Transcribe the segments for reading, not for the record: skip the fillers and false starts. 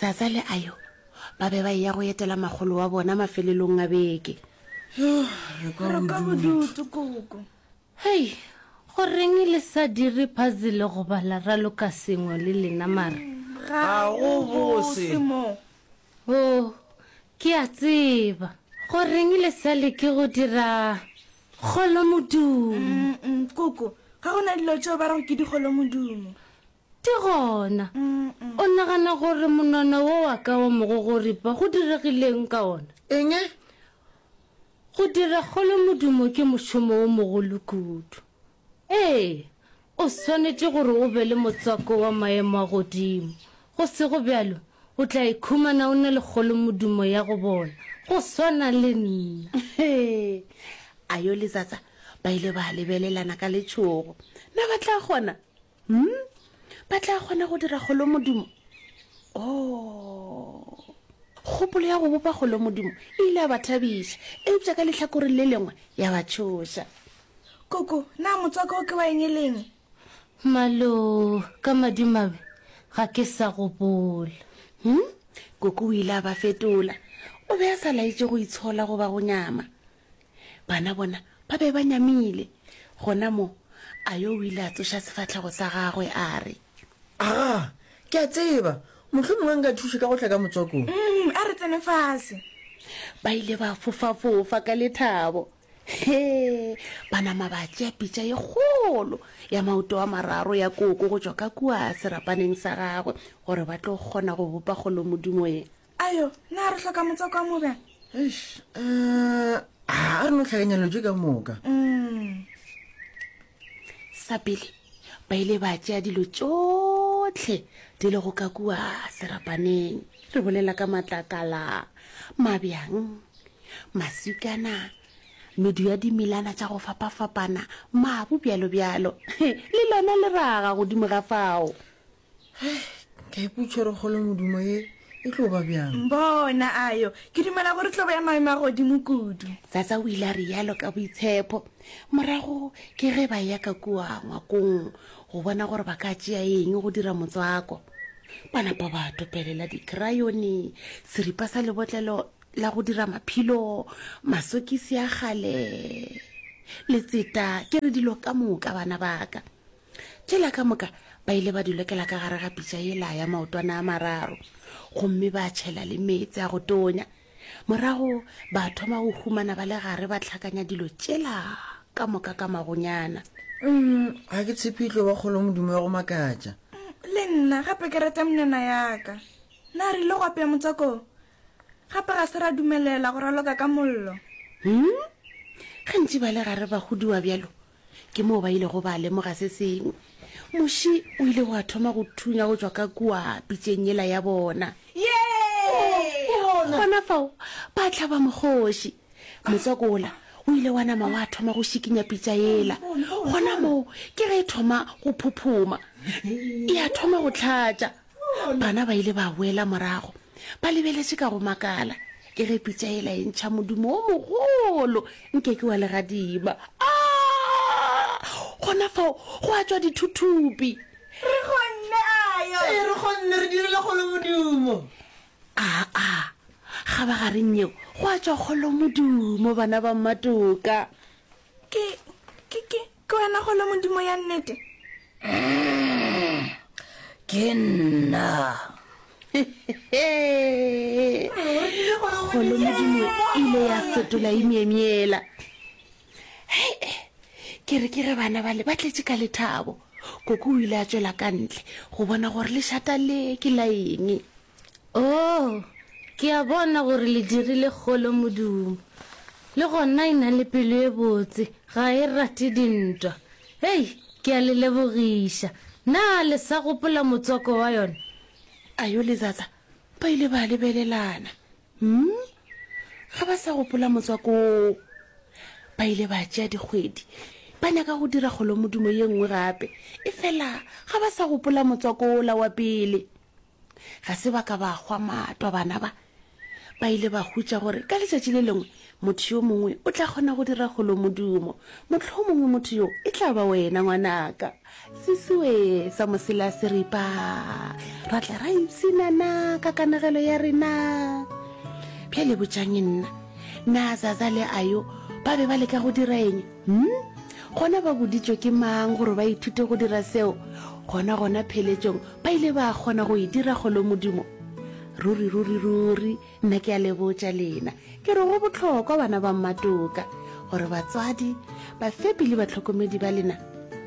Zaza le Ayo ba be ba eya go etela makgolo wa bona mafelelong a beke. Yo, re kwa Re kwa bodutu. bodutu, Koko. Hei, goreng le sa dire puzzle goba la raloka sengwe le lena mara? Ga go bose. mo. Oh, ke a tseba. Goreng le sa leke go dira kgolomodumo? Mm, Koko, ga go na dilo tšeo ba rego ke dikgolomodumo. Di gona. O nagana gore monwana wo wa ka wa mogogoripa go diregileng ka ona? Eng? Go dira kgolomodumo ke mošomo wo mogolo kudu. Ee, o swanetše gore o be le motswako wa maemo a godimo. Go sego bjalo, o tla ikhumana o na le kgolomodumo ya go bola, go swana le nna. Ayo le Zaza ba ile ba lebelelana ka letšhogo. Na ba tla kgona? Hmm? Ba tla kgona go dira kgolomodumo? Oh. Kgopolo ya go bopa kgolomodumo e ile ya ba thabiša, eupša ka lehlakoreng le lengwe ya ba tšhoša. Koko, na motswako o ke wa eng e leng? Malo, ka madimabe, ga ke sa gopola. Hmm? Koko o ile a ba fetola. O be a sa laetše go itshola goba go nyama. Bana bona ba be ba nyamile. Gona moo, Ayo o ile a tsoša sefahlego sa gagwe a re. Aga, ke a tseba! Mohlomongwe nka thuša ka go tla ka motswakong. Mm, a re tsene fase. Ba ile ba fofafofa ka lethabo. He, ba nama ba tšea pitša ye kgolo ya maoto a mararo ya koko go tšwa ka kua serapaneng sa gagwe gore ba tlo kgona go bopa kgolomodumo ye. Ayo, na re hloka motswako wa mobjang? Eish, eh, a re no hlakanya dilo tše ka moka. Mm. Sa pele, ba ile ba tšea dilo tšohle di lego ka kua serapaneng. Re bolela ka matlakala, mabjang, maswikana, medu ya dimelana tša go fapafapana, mabu bjalo-bjalo, le lona leraga godimo ga fao. Hei, ke a ipotša gore kgolomodumo ye e tlo ba bjang. Bona, Ayo, ke dumela gore e tlo ba ya maemo a godimo kudu. Zaza o ile a realo ka boitshepo. Morago ke ge ba eya ka kua ngwakong go bona gore ba ka tšea eng go dira motswako. Ba napa ba topelela dikrayone, seripa sa lebotlelo la go dira maphilo, masokisi a kgale, letseta, ke re dilo ka moka bana ba ka. Tšela ka moka ba ile ba di lokela ka gare ga pitša yela ya maotwana a mararo, gomme ba tšhela le meetse a go tonya. Morago ba thoma go humana ba le gare ba hlakanya dilo tšela ka moka ka magonyana. Mm, ga ke tshepe e tlo ba kgolomodumo ya go makatša. Le nna gape ke rata menwana ya ka. Na re ile go apea motswako wo? Gape ga se ra dumelela go raloka ka mollo. Hmm? Ge ntše ba le gare ba huduwa bjalo, Ke moo ba ilego ba lemoga se sengwe. Muši o ile wa thoma go thunya go tšwa ka kua pitšeng yela ya bona. Gona fao ba hlaba mokgoši. Motswako wola o ile wa nama wa thoma go šikinya pitša yela. Gona moo ke ge e thoma go phophoma. Ya thoma go hlatša. Bana ba ile ba boela morago ba lebeletše ka go makala ke ge pitša yela e ntšha modumo wo mogolo nke ke wa legadima. Aa! Gona fao gwa tšwa dithuthupi. Re kgonne, Ayo! Ee, re kgonne, re dirile kgolomodumo! Aa! Kgabagareng yeo gwa tšwa kgolomodumo, bana ba Mmatoka. Ke, ke, ke, ke wena kgolomodumo ya nnete? Ke nna. Kgolomodumo e ile ya fetola e myemyela. Hei, ke re ke ge bana bale ba tletše ka lethabo. Koko o ile a tšwela ka ntle go bona gore lešata le ke la eng. Oo, ke a bona gore le dirile kgolo modumo. Le gona e na le pelo e botse, ga e rate dintwa. Hei, ke a le lebogiša. Na le sa gopola motswako wa yona? Ayo le Zaza ba ile ba lebelelana. Hmm? Ga ba sa gopola motswako woo. Ba ile ba tšea dikgwedi ba nyaka go dira kgolomodumo ye nngwe gape, efela ga ba sa gopola motswako wola wa pele. Ga se ba ka ba hwa matwa bana ba. Ba ile ba hutša gore ka letšatši le lengwe motho yo mongwe o tla kgona go dira kgolomodumo. Mohlomongwe motho yo e tla ba wena, ngwanaka. Sesiwe sa mosela seripa. Ra tla ra ipshinana ka kanegelo ya rena. Bjale botšang nna, na Zaza le Ayo ba be ba leka go dira eng? Hm? Gona ba boditšwe ke mang gore ba ithute go dira seo? Gona gona pheletšong ba ile ba kgona go e dira kgolomodumo. Ruri, ruri, ruri, nna ke a le botša lena, ke re go bohlokwa bana ba mmatoka, gore batswadi, bafepi le bahlokomedi ba lena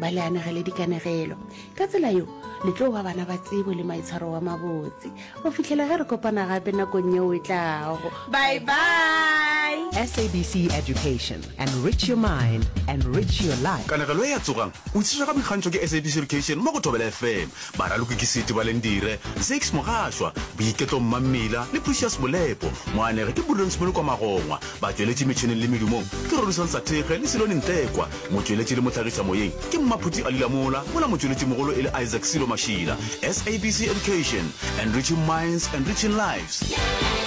ba le anegele dikanegelo. Ka tsela yeo, le tlo ba bana ba tsebo le maitshwaro wa mabotse. Go fihlela ge re kopana gape nakong yeo e tlago. Bye bye. SABC Education, enrich your mind, enrich your life. Kanegelo ye ya Tsogang! o tlišwa ka boikgantšho ke SABC Education mo go Thobela FM. Baraloki ke Seti Balendire, Zakes Mogašwa, Boiketlo Mmammila le Precious Molepo. Moanegi ke Prudence Molokwa Magongwa. Batšweletši metšhineng le medumong ke Rorisang Sathekge le Silone Ntekwa. Motšweletši le mohlagišamoyeng ke Mmaphuti Ali Lamola, mola motšweletšimogolo e le Isaac Silo Mašila. SABC Education, enriching minds, enriching lives.